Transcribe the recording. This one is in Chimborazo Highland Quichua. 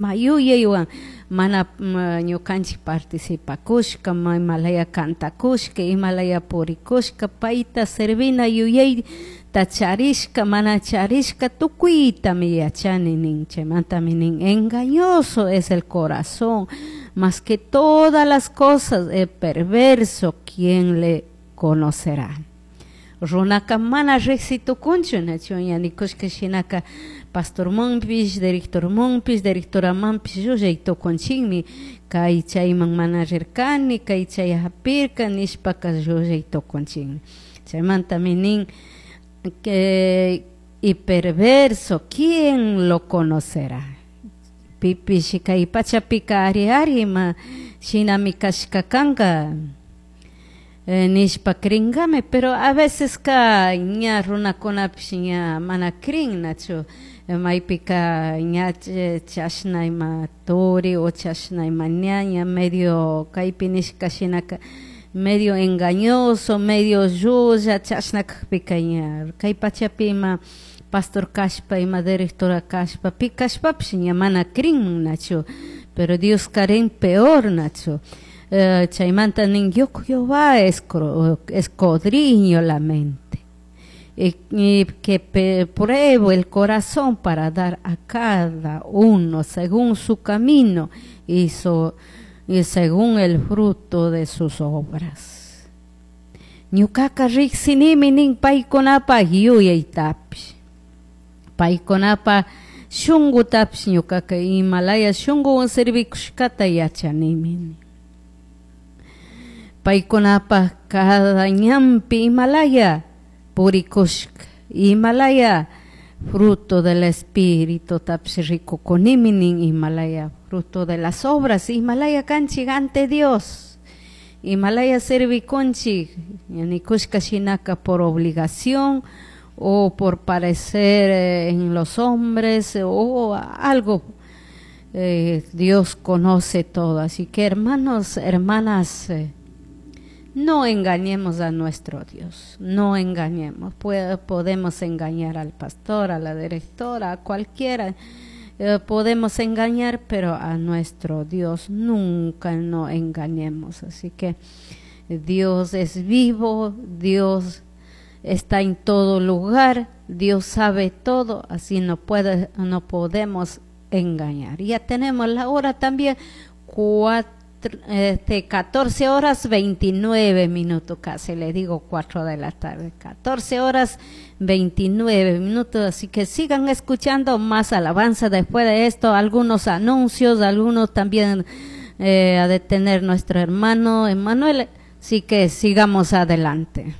Yuyaywan mana ñukanchik participakushka, imalaya cantakushka, imalaya purikushka, payta servina yuyayta charishka, mana charishka tukuytami yachani nin. Chaymantami nin, engañoso es el corazón, más que todas las cosas, es perverso, ¿quién le conocerá? Runaka mana riqsi tukunchu, nachu ña nikushka shinaka pastormanpish, directormanpish, directoramanpish llullay tukunchinmi, kay chayman mana rirkani, kay chay hapirka nishpaka llullay tukunchinmi. Chaymantami nin que y perverso, ¿quién lo conocerá? Pipish kay pachapika ari ari ima shinami kashka kanka nishpa cringami, pero a veces ka ña runakunapish ña mana crin, nachu maypika ña chashna ima turi o chashna ima ñaña medio kaypi nishka shinaka medio engañoso, medio llulla chashna kakpika ña kay pachapi ima pastor kashpa, ima directora kashpa, pi kashpapish ña mana crin, nachu, pero Dios karin peor, nachu. Chaymanta nin, yo Jehová escudriño la mente y que pruebo el corazón para dar a cada uno según su camino y según el fruto de sus obras. Ñukaka riqsinimi nin paykunapaj yuyaytapish, paykunapaj shunqutapish ñukaka imalaya shunquwan servikushkata yachanimi. Paykunapaj cada ñanpi imalaya purikushka, imalaya fruto del espíritu tapish rikukunimi nin, imalaya fruto de las obras, imalaya kanchik ante Dios, imalaya servikunchik, nikushka shinaka por obligación o por parecer en los hombres o algo. Dios conoce todo, así que hermanos, hermanas, no engañemos a nuestro Dios, no engañemos. Podemos engañar al pastor, a la directora, a cualquiera, podemos engañar, pero a nuestro Dios nunca no engañemos. Así que Dios es vivo, Dios está en todo lugar, Dios sabe todo, así no podemos engañar. Ya tenemos la hora también, 14 horas 29 minutos, casi le digo 4 de la tarde, 14 horas 29 minutos, así que sigan escuchando más alabanza después de esto, algunos anuncios, algunos también a detener nuestro hermano Emanuel, así que sigamos adelante.